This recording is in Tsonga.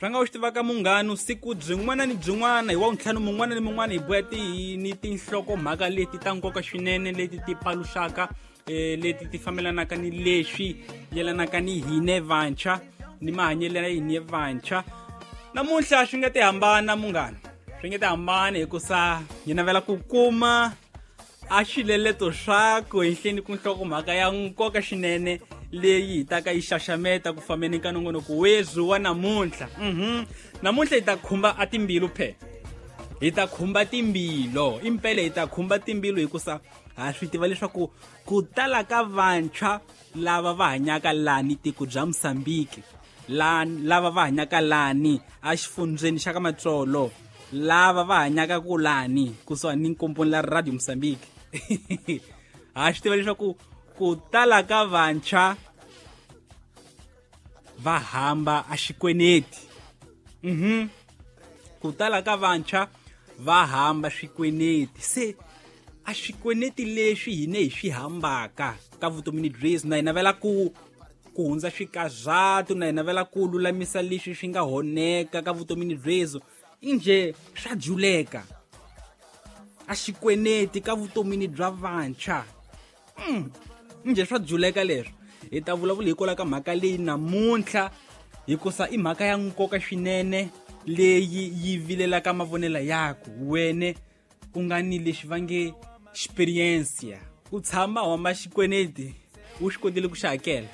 Swa nga u xi tivaka munghano, siku byin'wana ni byin'wana hi wa ntlhanu mun'wana ni mun'wana hi boya ti ni tinhlokomhaka leti ta nkoka swinene, leti ti paluxaka leti ti fambelanaka ni leswi yelanaka ni hine vantshwa ni mahanyelo ya hine vantshwa. Namuntlha swi nga ti hambana munghana, swi nga ti hambana hikusa hi navela ku kuma a xileleto swaku henhleni ku nhlokomhaka ya nkoka swinene leyi hi taka yi xaxameta ku fambeni ka nongonoko wezwi wa namuntlha. Namuntlha hi ta khumba a timbilu phe, hi ta khumba timbilo impela, hi ta khumba timbilu hikusa ha swi tiva leswaku ku tala ka vantshwa lava va hanyaka lani tiko bya Mosambiki, lava va hanyaka lani exifundzeni xa ka Matsolo, lava va hanyaka ku lani kusuhani ni nkomponi la Radio Mosambiki, ha swi tiva leswaku ku tala ka vantshwa va hamba a xikweneti. Ku tala ka vantshwa va hamba swikweneti. Se a swikweneti leswi hine hi swi hambaka ka vutomini byezi, na hi navela ku hundza swikazatu, na hi navela ku lulamisa leswi swi nga honeka ka vutomini byezo, inje swa juleka a xikweneti ka vutomini bya vantshwa. Njhe swa juleka leswo? Hi ta vulavula hikwalaho ka mhaka leyi namuntlha, hikusa i mhaka ya nkoka swinene leyi yi vilelaka mavonelo yaku wene u nga ni lexi va nge experience u tshama homa xikweneti, u swi kotile ku xi hakela.